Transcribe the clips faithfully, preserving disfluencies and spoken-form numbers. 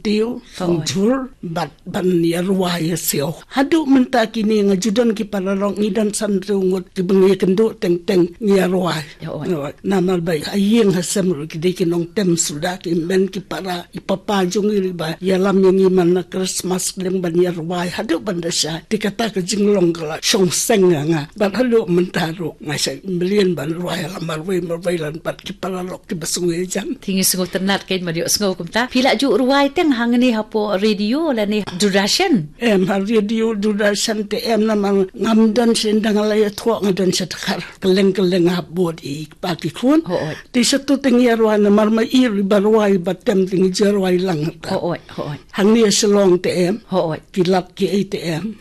tiew, thong jhur, bad ban ïa rwai ïa siew. Haduh mynta kine nga ju don ki paralok ngi don san riew ngut kiba ngi kynduh teng teng ngi ïa rwai. Namar ba ha ïing ha sem ruh ki dei ki nongtem suda ki men ki para i papa jong ngi ruh ba ïalam ïa ngi man na Christmas dang ban ïa rwai haduh ban da shai. Te kata ka jinglong ka la shong seng ïa nga. Bad haduh mynta ruh nga shait mlien ban rwai la marwei marwei lan bad ki paralok kiba sngewthuh jan. Te ngi sngewtynnat kein ban ïohsngew kumta. Phi la ju rwai teng hangne hapoh radio lane Doordarshan? Em, ha radio Doordarshan te em namar ngam don sha, ynda nga la ïathoh nga don sha Dkhar. Kylleng kylleng nga hap bud i kpa ki khun. Te shatu te ngi ïa rwai namar ma i ruh iba rwai iba tem te ngi ju rwai lang ta. Hangne Shillong te em. Ki lad ki ei te em.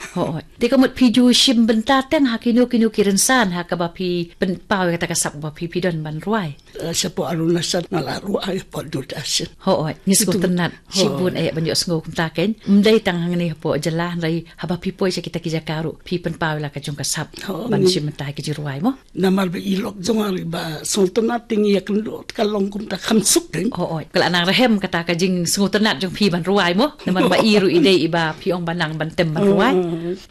Te ka mut phi ju shim bynta teng ha kino kino ki rynsan ha kaba phi pynpaw ïa kata ka sap ba phi phi don ban rwai? Eh, shapoh Arunachal nga la rwai hapoh Doordarshan. Hooid, ngi sngewtynnat shibun eh ban ïohsngew kumta kein. Ym dei tang hangne hapoh jylla hynrei haba phi poi sha kita ki jaka ruh phi pynpaw ïa la ka jong ka sap ban shim bynta ha ki jingrwai mo. Namar ba i lok jong nga ruh iba sngewtynnat te ngi ïa kynduh te ka long kumta kham suk kein. Hooid, ka la nang rhem kata ka jingsngewtynnat jong phi ban rwai mo. Namar ba i ruh i dei iba phi ong ba nang ban tem ban rwai.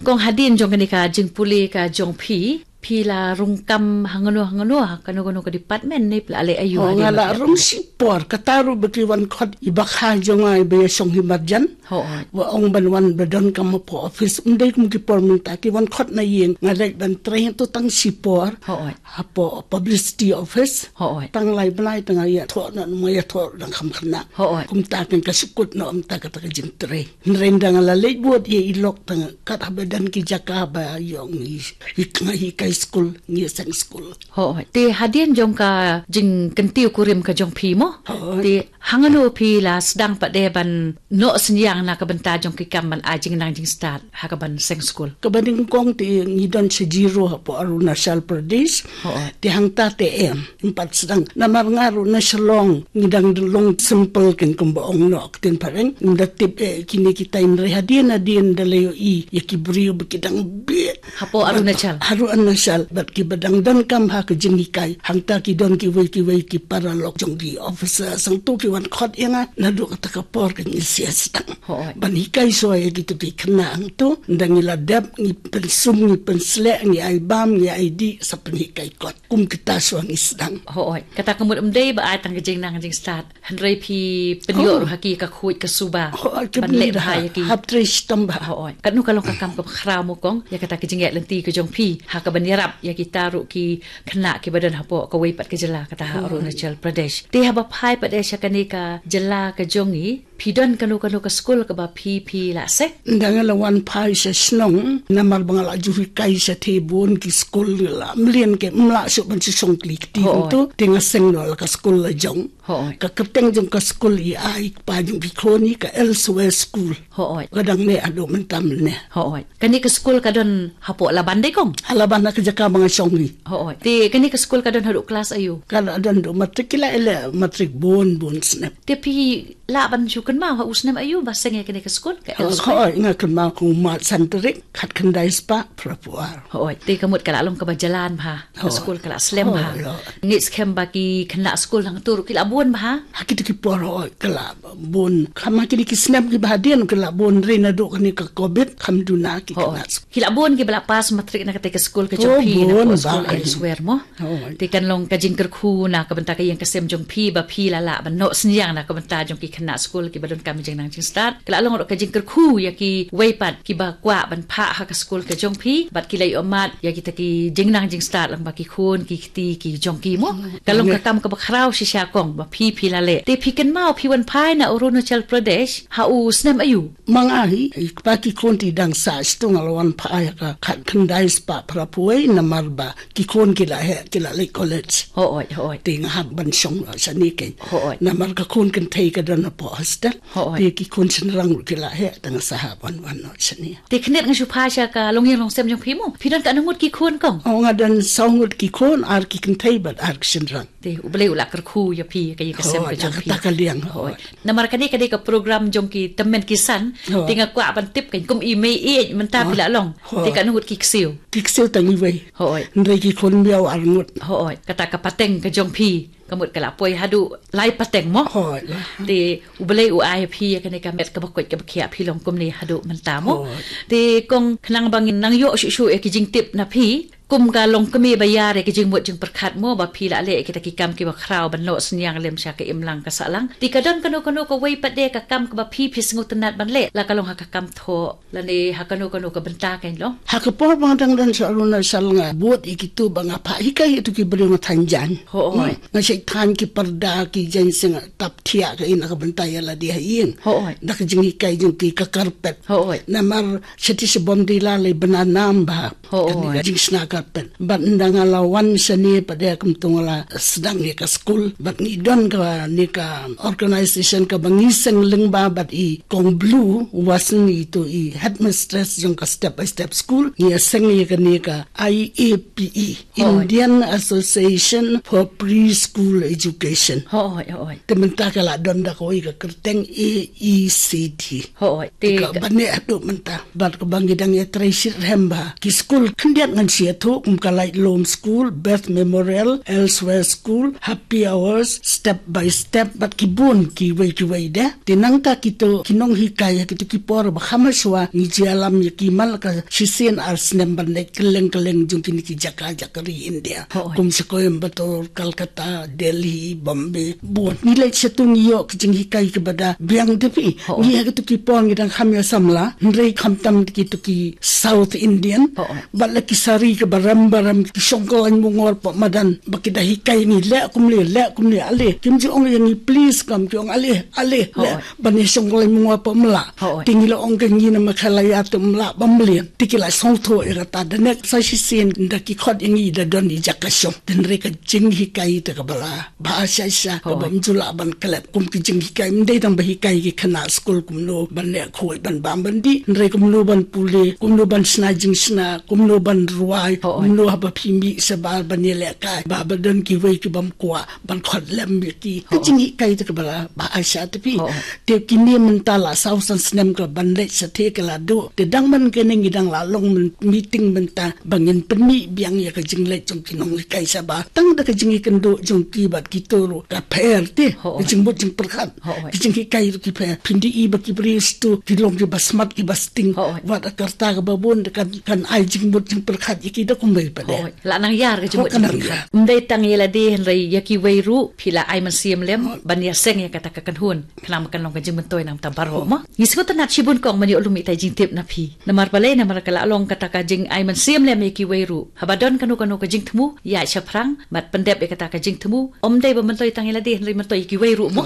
Kong hadien jong kane ka jingpule ka jong phi, phi la rung kam hangno hangno ha kano kano ka department ne phi la leh aïu hadien? Nga la rung shipor, kata ruh ba ki wan khot iba kha jong nga iba ïa shong hi marjan. Hooid. Ba ong ban wan ba donkam hapoh office, ym dei kum ki por mynta ki wan khot na ïing, nga leit ban trei tu tang shipor. Hooid. Hapoh publicity office. Hooid. Tang lai bnai tang ïa thoh na ma ïa thoh dang kham khynnah. Hooid. Kumta kan ka sukut na ym ta kata ka jingtrei. Hynrei ynda nga la leit bud ïa i lok tang kat haba don ki jaka ba ïoh ngi, ngi, ngi kai skul, ngi seng skul. Hooid. Te hadien jong ka jingkyntiew kurim ka jong phi mo. Hooid. Te hangno phi la sdang pat de ban noh synñiang na ka bynta jong ki kam ban ai jingnang jingstad ha ka ban seng skul? Kaba nyngkong te ngi don sha Ziro hapoh Arunachal Pradesh. Hooid. Te hangta te em. Ym pat sdang. Namar nga ruh na Shillong ngi dang long simple kein kumba ong noh ktien phareng. Ngim da tip eh kine kita, hynrei hadien hadien da la ïohi ïa ki briew ba ki dang bieit. Hapoh Arunachal. Hapoh Arunachal bad kiba dang donkam ha ka jinghikai. Hangta ki don kiwei kiwei ki paralok jong ki officer, sangtu ki wan khot ïa nga naduh kata ka por ka ngi sia sdang. Hooid. Ban hikai shuwa ïa kito ki khynnah hangtu, ynda ngi la dep ngi pynsum ngi pynsleh ngi ai bam ngi ai dih sa pynhikai kot. Kum kita shuwa ngi sdang. Hooid. Kata ka mut ym dei ba ai tang ka jingnang jingstad, hynrei phi pynïoh ruh ha ki ka khuid ka suba. Hooid, ban leh bha ïa ki. Hap trei shitom bha. Hooid. Katno ka long ka kam kaba khraw mo kong ïa kata ka jingïaid lynti ka jong phi ha ka ban ïarap ïa kita ruh ki khynnah kiba don hapoh kawei pat ka jylla kata ha Arunachal Pradesh. Te haba phai pat de sha kane ka jylla ka jong ngi, phi don kano kano ka skul kaba phi phi la seng? Ynda nga la wan phai sha shnong namar ba nga la ju hikai shatei bun ki skul, la mlien kein, ym lah shuh ban shu shong kli kti. Hooid. Kumto te nga seng noh la ka skul la jong. Hooid. Ka kyrteng jong ka skul i ai kpa jong ki khun i ka Elsewhere School. Hooid. Ka dang neh haduh mynta mynne. Hooid. Kane ka skul ka don hapoh Laban dei kong? Ha Laban ha ka jaka ba nga shong hi. Hooid. Te kane ka skul ka don haduh klas aïu? Ka la don haduh matrik, ki la ïaleh matrik bun bun snem. Te phi lah ban shu kynmaw ha u snem aïu ba seng ïa kane ka skul ka Elsewhere? Hooid, nga kynmaw ka u March san tarik khatkhyndai spah phraphew ar. Hooid, te ka mut ka la long kaba jlan bha. Ka skul ka la slem bha. Hooid. Ngi skhem ba ki khynnah skul hangtu ruh ki la bun bha. Ha kito ki por hooid ka la bun. Kham ha kine ki snem kiba hadien ki la bun, hynrei naduh kane ka covid kham duna ki khynnah skul. Ki la bun kiba la pass matrik na kata ka skul ka jong phi, na ka skul Elsewhere mo. Hooid. Te kan long ka jingkyrkhu na ka bynta ka ïing ka sem jong phi ba phi la lah ban noh synñiang na ka bynta jong ki khynnah skul kiba donkam jingnang jingstad. Ka la long ruh ka jingkyrkhu ïa kiwei pat kiba kwah ban phah ha ka skul ka jong phi bad ki la ïohmad ïa kita ki jingnang jingstad lyngba ki khun ki kti ki jong ki mo. Ka long ka kam kaba khraw shisha kong ba phi phi la leh. Te phi kynmaw phi wan phai na Arunachal Pradesh ha u snem aïu? Ma nga hi, i kpa ki khun te i dang sah, shisha nga la wan phai ha ka khatkhyndai spah phraphew wei namar ba ki khun ki la heh, ki la leit college. Hooid, hooid. Te nga hap ban shong shane kein. Hooid. Namar ka khun kynthei ka don hapoh hostel. Hooid. Te ki khun shynrang ruh ki la heh, te nga sa hap wan wan noh shane. Te khyndiat nga shu phai sha ka longïing longsem jong phi mo. Phi don katno ngut ki khun kong? Oh, nga don saw ngut ki khun, ar ki kynthei bad ar ki shynrang. Te U Blei u la kyrkhu ïa phi ka ïing ka sem ka jong phi. Hooid, ïa kata ka liang. Hooid. Namar kane ka dei ka program jong ki tymmen ki san. Hooid. Te nga kwah ban tip kein kum i mei ïeit mynta phi la long. Hooid. Te katno ngut ki ksiew? Ki ksiew tang iwei. Hooid. Hynrei ki khun miaw ar ngut. Hooid. Kata ka pateng ka jong phi. Ka mut ka la poi haduh lai pateng mo. Hooid la. Te U Blei u ai phi ïa kane ka met kaba koit kaba khiah, phi long kumne haduh mynta mo. Hooid. Te kong, khnang ba ngin nang ïoh shuh shuh ïa ki jingtip na phi, kum ka longkmie ba ïar ïa ki jingmut jingpyrkhat mo, ba phi la leh ïa kita ki kam kiba khraw ban noh synñiang lem sha ka imlang ka sahlang. Te ka don kano kano kawei pat de ka kam kaba phi, phi sngewtynnat ban leh, la ka long ha ka kam thoh lane ha kano kano ka bynta, kan long? Ha ka por ba nga dang don sha Arunachal, nga bud ïa kito ba nga phah hikai ïa kito ki briew, nga thaiñ jaiñ. Hooid. Hmm. Nga shait thaiñ ki parda, ki jaiñseng, tap thiah ka ina ka bynta ïa lade ha ïing. Hooid. Da ka jinghikai jong ki, ka carpet. Hooid. Namar shatei sha Bomdila lei bna nam bha. Hooid. Kane ka jingshna carpet. Bad ynda nga la wan shane pat de kumto nga la sdang ïa ka skul. Bad ngi don kane ka organization kaba ngi seng lyngba bad i Kong Blue Watson, ito i headmistress jong ka Step by Step School. Ngi ïa seng ïa kane ka I A P E, Hooid. Indian Association for Preschool Education. Hooid, hooid. Te mynta ka la don da kawei ka kyrteng A E C D. Hooid. Te ka ka bane haduh mynta. Bad kaba ngi dang ïa trei shitrhem bha, ki skul khyndiat ngan shu ïathuh, kum ka Laitlum School, Beth Memorial, Elsewhere School, Happy Hours, Step by Step, bad ki bun kiwei kiwei de. Te nangta kito ki nonghikai ha kito ki por ba kham hashwa ngi ju ïalam ïa ki man la ka shisien ar snem ban leit kylleng kylleng jong kine ki jaka jaka ri India. Hooid. Kum sha Coimbatore, Calcutta, Delhi, Bombay, bun. Ngi leit shato ngi ïoh ki jinghikai kiba da biang de phi. Hooid. Ngi ha kito ki por ngi dang kham ïa samla, hynrei khamtam kito ki South Indian. Hooid. Bad la ki sari kiba rem ba rem, ki shong kyllaiñ mungor pok madan, ba ki da hikai ngi leh kumne, leh kumne, ale. Kim ju ong ïa ngi please, kam ki ong ale, ale, leh. Hooid. Ban ïa shong kyllaiñ mungor pok mla. Hooid. Te ngi la ong ka ngi na Meghalaya te mla ba mlien. Te ki la sngewthuh ïa kata, da nek sa shisien da ki khot ïa ngi da don i jaka shong. Te hynrei ka jinghikai te kaba la bha shisha, hooid, kaba ym ju lah ban klet. Kum ki jinghikai, ym dei tang ba hikai ki khynnah skul kumno ban leh khuid, ban bam ban dih, hynrei kumno ban pule, kumno ban shna jingshna, kumno ban rwai, hooid, kumno haba phi mih shabar ban ïalehkai, ba haba don kiwei ki bym kwah ban khot lem ïa ki. Ka, hooid, jinghikai te kaba la bha shisha te phi. Hooid. Te kine mynta la saw san snem ka ban leit shatei ka la duh. Te dang man kane ngi dang la long myn-, meeting mynta ba ngin pynmih biang ïa ka jingleit jong ki nonghikai shabar. Tang da ka jingïakynduh jong ki bad kito ruh ka pher te. Hooid. Ka jingmut jingpyrkhat. Hooid. Ka jinghikai ruh ki pher. Phin ïohi ba ki briew shato ki long kiba smat kiba sting. Hooid. Wat ka rta kaba bun kan, kan ai jingmut jingpyrkhat ïa ki da kumwei pat de. Hooid. La nang ïar ka jingmut jingpyrkhat. Hooid, ka nang ïar. Ym dei tang ïa lade hynrei ïa kiwei ruh phi la ai mynsiem lem, hooid, ban ïaseng ïa kata ka kynhun. Khnang ba kan long ka jingmyntoi na ka bynta baroh, hooid, mo. Ngi sngewtynnat shibun kong ban ïoh lum ïa kita ki jingtip na phi. Namar balei, namar ka la long kata ka jingai mynsiem lem ïa kiwei ruh. Haba don kano kano ka jingthmu, ïaid shaphrang bad pyndep ïa kata ka jingthmu. Ym dei ba myntoi tang ïa lade hynrei myntoi ïa kiwei ruh, mo.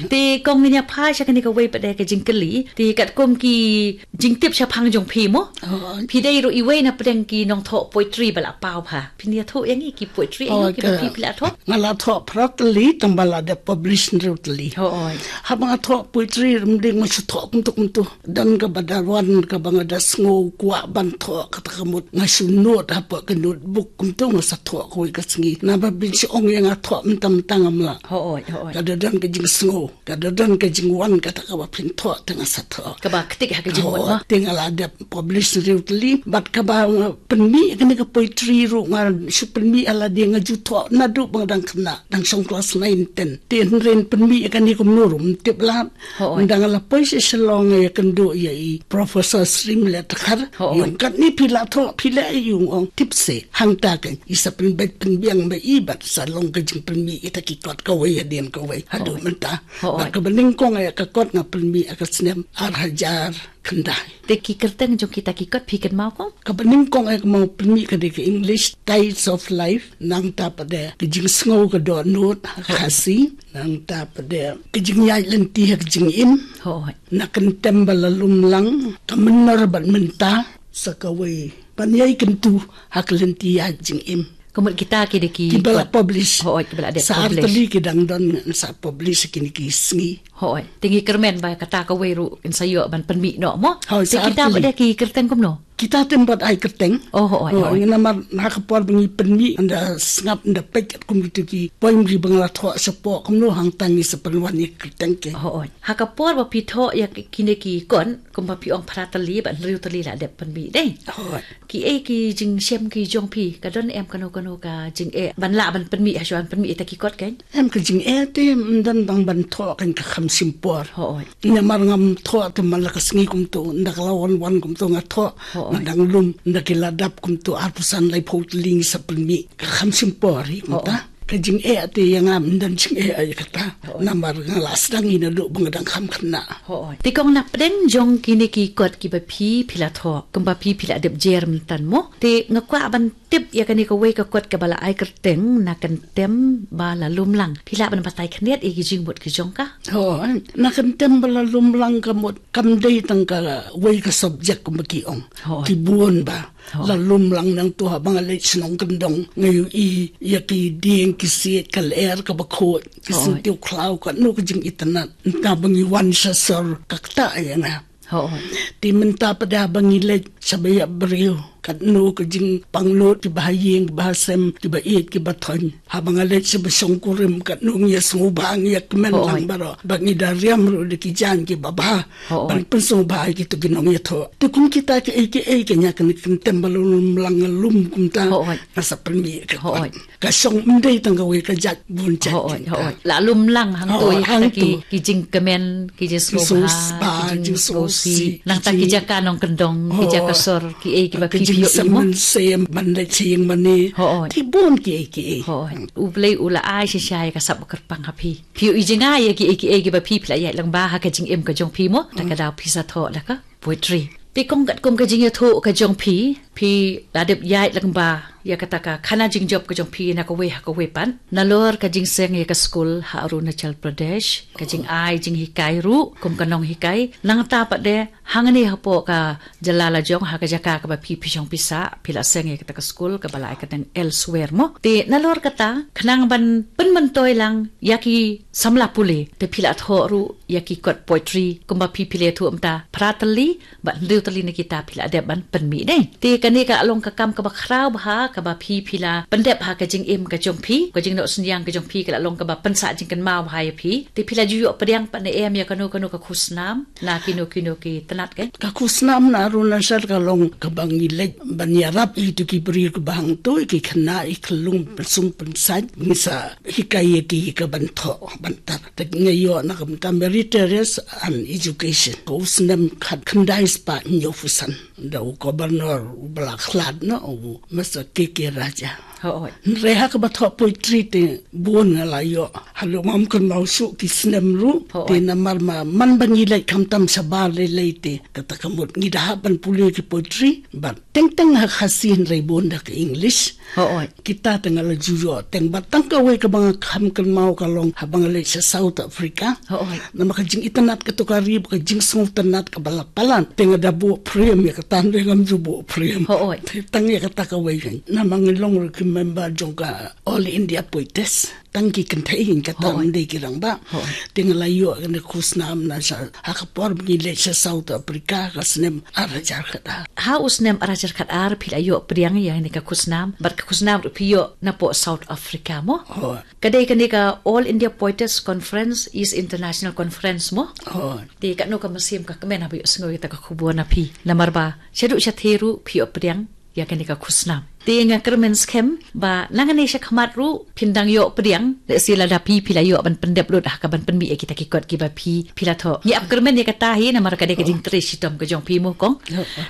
Te kong, ngin ïa phai sha kane kawei pat de ka jingkylli. Te katkum ki jingtip shaphang jong phi, mo. Oh. Phi dei ruh iwei na pdeng ki nongthoh poetry ba la paw bha. Phin ïathuh ïa ngi ki poetry, oh, ïa ngi kiba, ka, phi, phi la thoh? Nga la thoh phra tylli, tang ba la dep publish hynriew tylli. Hooid. Haba nga thoh poetry, ym dei nga shu thoh kumto kumto. Don kaba da wan kaba nga da sngew kwah ban thoh, kata ka mut nga shu note hapoh ka notebook kumto, nga sa thoh kawei ka sngi. Naba phin shu ong ïa nga thoh mynta mynta, ngam lah. Hooid, hooid. Ka da don ka jingsngew. Ka da don ka jingwan kata kaba phin thoh te nga sa thoh. Kaba ktik ha ka jingmut, oh, ma. Te nga la dep publish hynriew tylli. Bad kaba nga pynmih kane ka poetry ruh nga shu pynmih ha lade, nga ju thoh naduh ba nga dang khynnah, dang shong klas nine ten. Te hynrei pynmih kane kumno ruh ym tip lad. Hooid. Ynda nga la poi sha Shillong ïakynduh ïa i Professor Sri Mlet Dkhar. Hooid. I ong katne phi la thoh, phi leh, i ong, ong tip se. Hangta kan i sa pynbeit pynbiang ba i bad sa long ka jingpynmih ïa kita ki kot kawei hadien kawei haduh mynta. Hooid. Bad kaba nyngkong ïa ka kot nga pynmih ha ka snem ar hajar khyndai. Te ki kyrteng jong kita ki kot phi kynmaw, kong? Kaba nyngkong ïa ka nga pynmih ka dei ka English, Tides of Life, nangta pat de Ka Jingsngew Ka Dohnud ha ka Khasi, nangta pat de Ka Jingïaid Lynti ha Ka Jingim. Hooid. Na Kyntem Ba La Lum Lang, Ka Mynnor Bad Mynta, sa kawei, Ban Ïai Kyntu ha Ka Lynti Ïaid Jingim. Ka mut kita ki dei ki, kiba la publish. Hooid, kiba la dep publish. Sa ar tylli ki dang don sa publish kine ki sngi. Hooid. Te ngi kyrmen ba kata kawei ruh kin sa ïoh ban pynmih noh, mo. Hooid, sa ar tylli. Te kita pat de ki kyrteng kumno? Kita te em pat ai kyrteng. Oh, oh, oh, oh. Namar ha ka por ba ngi pynmih, ynda sngap, ynda peit katkum kito ki poem ri ba nga la thoh shapoh, kumno hangta ngi sa pynwan ïa ka kyrteng ke. Oh, oh. Ha ka por ba phi thoh ïa ki, kine ki kot, kumba phi ong phra tylli bad hynriew tylli la dep pynmih dei. Oh. Kiei ki jingshem ki jong phi, ka don em kano kano ka jingeh ban lah ban pynmih, ha shuwa ban pynmih ïa kita ki kot kein? Em, ka jingeh te ym don tang ban thoh kein, ka kham shim por. Hooid. Namar ngam thoh te man la ka sngi kumto, ynda ka la wan wan kumto nga thoh, hooid, nga dang lum, ynda ki la dap kumto arphew san laiphew tylli ngi sa pynmih, ka kham shim por hi kumta. Hooid. Ka jingeh te ïa nga ym don jingeh ïa kata. Hooid. Namar nga la sdang hi naduh ba nga dang kham khynnah. Hooid. Te kong, na pdeng jong kine ki kot kiba phi, phi la thoh, kumba phi, phi la dep jer mynta mo. Te nga kwah ban tip ïa kane kawei ka kot kaba la ai kyrteng Na Kyntem Ba La Lum Lang. Phi lah ban batai khyndiat ïa ki jingmut ki jong ka? Hooid. Na Kyntem Ba La Lum Lang ka mut kam dei tang kawei ka subject kumba ki ong. Hooid. Ki bun ba. Hooid. La lum lang nangto, haba nga leit shnong kyndong nga ïohi ïa ki dieng ki siej, ka lyer kaba khuid, ki, hooid, syntiew khlaw, katno ka jingitynnat. Mynta ba ngi wan sha sor, ka ktah ïa nga. Hooid. Te mynta pat haba ngi leit sha ba ïap briew, katno ka jingpangnud, kiba ha ïing kiba ha sem, kiba ïeit kiba thoiñ. Haba nga leit sha ba shongkurim, katno ngi ïa sngewbha, ngi ïa kmen, hooid, lang baroh, ba ngi da riam ruh da ki jaiñ kiba bha. Hooid. Ban pynsngewbha ïa kito ki nongïathoh. Te kum kita kiei kiei, kane Na Kyntem Ba La Lum Lang nga lum kumta. Hooid. Nga sa pynmih ka kot. Hooid. Ka shong ym dei tang kawei, ka jait, bun jait. Hooid, kumta. Hooid. La lum lang hangto, hooid, ïa kita, hangto, ki, ki jingkmen, ki jingsngewbha, ki jingsngewsih, ki jingsngewsih, nangta ki jaka nongkyndong, ki jaka sor, kiei kiba phi, phi ïohi mo. Ka jingsem mynsiem ban leit sha ïing mane. Hooid. Te bun kiei kiei. Hooid. U Blei u la ai shisha ïa ka sap ba kyrpang ha phi. Phi ïohi jngai ïa kiei kiei kiba phi, phi la ïaid lyngba ha ka jingim ka jong phi mo. Ta ka daw phi sa thoh da ka poetry. Te kong, katkum ka jingïathuh ka jong phi, phi la dep ïaid lyngba ïa kata ka khana jingjop ka jong phi na kawei ha kawei pat. Nalor ka jingseng ïa ka skul ha Arunachal Pradesh, ka jingai jinghikai ruh kum ka nonghikai, nangta pat de hangne hapoh ka jylla la jong, ha ka jaka kaba phi, phi shong phi sah, phi la seng ïa kata ka skul kaba la ai kyrteng Elsewhere mo. Te nalor kata, khnang ban pynmyntoi lang ïa ki samla pule, te phi la thoh ruh ïa ki kot poetry, kumba phi, phi la ïathuh mynta, phra tylli bad hynriew tylli na kita phi la dep ban pynmih dei. Te kane ka long ka kam kaba khraw bha kaba phi, phi la pyndep ha ka jingim ka jong phi, ka jingnoh synñiang ka jong phi ka la long kaba pynsah jingkynmaw bha ïa phi. Te phi la ju ïoh pdiang pat ne em ïa kano kano ka khusnam na kino kino ki tnat kein? Ka khusnam na Arunachal ka long kaba ngi leit ban ïarap ïa kito ki briew kiba hangto, ïa ki khynnah, ïa ki khyllung, pynsum pynsait, ngi sa hikai ïa ki ka ban thoh ban tar. Te nga ïoh na ka bynta meritorious and education. Ka u snem khatkhyndai spah hynñiewphew san, da u governor uba la khlad noh, u Mister K K Raja. Hooid. Hynrei ha kaba thoh poetry te bun nga la ïoh. Haduh ngam kynmaw shuh ki snem ruh. Hooid. Te namar ma, man ba ngi leit khamtam shabar lei lei te, kata ka mut ngi da hap ban pule ki poetry bad teng teng ha Khasi, hynrei bun da ka English. Hooid. Kita te nga la ju ïoh teng, bad tang kawei kaba nga kham kynmaw ka long haba nga leit sha South Africa. Hooid. Namar ka jingitynnat kato ka ri, ka jingsngewtynnat kaba la palat. Te nga da buh prem ïa kata, hynrei ngam ju buh prem. Hooid. Te tang ïa kata kawei kein. Namar ngi long ruh ki member jong ka All India Poetess. Tang ki kynthei kein, kata, hooid, ym dei ki rangbah. Hooid. Te nga la ïoh kane ka khusnam na sha, ha ka por ba ngi leit sha South Africa ka snem ar hajar khatar. Ha u snem ar hajar khatar phi la ïoh pdiang ïa kane ka khusnam, bad ka khusnam ruh phi ïoh napoh South Africa mo? Hooid. Ka dei kane ka All India Poetess Conference is International Conference mo? Hooid. Te katno ka mynsiem ka kmen haba ïohsngew ïa kata ka khubor na phi? Namar ba shaduh shathie ruh phi ïoh pdiang ïa kane ka khusnam. Te nga kyrmen skhem ba nangne shakhmat ruh phin dang ïoh pdiang, lehse lada phi, phi la ïoh ban pyndep lut ha ka ban pynmih ïa kita ki kot kiba phi, phi la thoh. Ngi ap kyrmen ïa kata hi namar ka dei ka jingtrei shitom ka jong phi mo kong.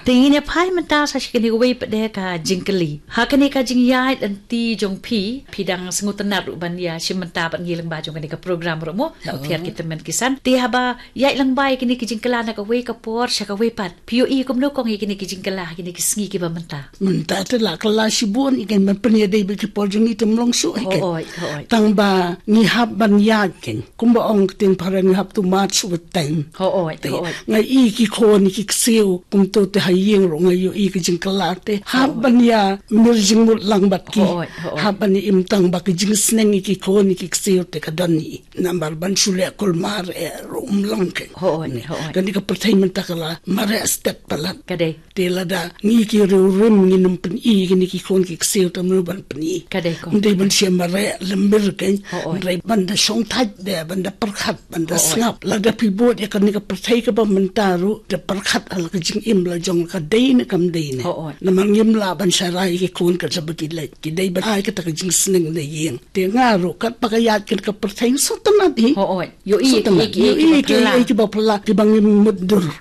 Te ngin ïa phai mynta sa sha kane kawei pat de ka jingkylli. Ha kane ka jingïaid lynti jong phi, phi dang sngewtynnat ruh ban ïashim bynta bad ngi lyngba jong kane ka program ruh mo, na u phiar ki tymmen ki san. Te haba ïaid lyngba ïa kine ki jingkylla na kawei ka por sha kawei pat, phi ïohi kumno kong ïa kine ki jingkylla ha kine ki sngi kiba mynta? Mynta te la kylla a shibun i ken ban pynïadei bad ki por jong ngi te ym long shuh hi ken. Hooid, hooid. Tang ba ngi hap ban ïaid ken. Kumba ong ka ktien phareng, you have to march with time. Hooid, te hooid. Nga i ki khun ki ksiew kumto te ha ïing ruh nga ïohi ka jingkylla te hap ban ïa mir jingmut lang bad ki. Hooid, hooid. Hap ban ïa im tang ba ka jingsneng i ki khun i ki ksiew te ka don hi. Namar ban shu leh kulmar eh ruh um long ken. Hooid, hooid. Kane ka pyrthei mynta ka la mareh stet palat. Ka dei. Te lada ngi ki riewrim ngin ym pyni kine ki khun ki ksiew te mano ban pyni. Ka dei ko. Ym dei ban shem mareh lem mir ken. Hooid. Ym dei ban da shongthait de, ban da pyrkhat, ban da sngap. Lada phi bud ïa kane ka pyrthei kaba mynta ruh, da pyrkhat ha la ka jingim la jong ka dei ne kam dei ne. Hooid. Namar ngim lah ban sharai ïa ki khun katba ki leit. Ki dei ban ai kata ka jingsneng na ïing. Te nga ruh katba ka ïaid kane ka pyrthei sngewtynnat hi. Hooid. Ïohi, sngewtynnat. Ïohi, ïohi ki, ïohi ki ba phylla, ki ba ngim mutdur.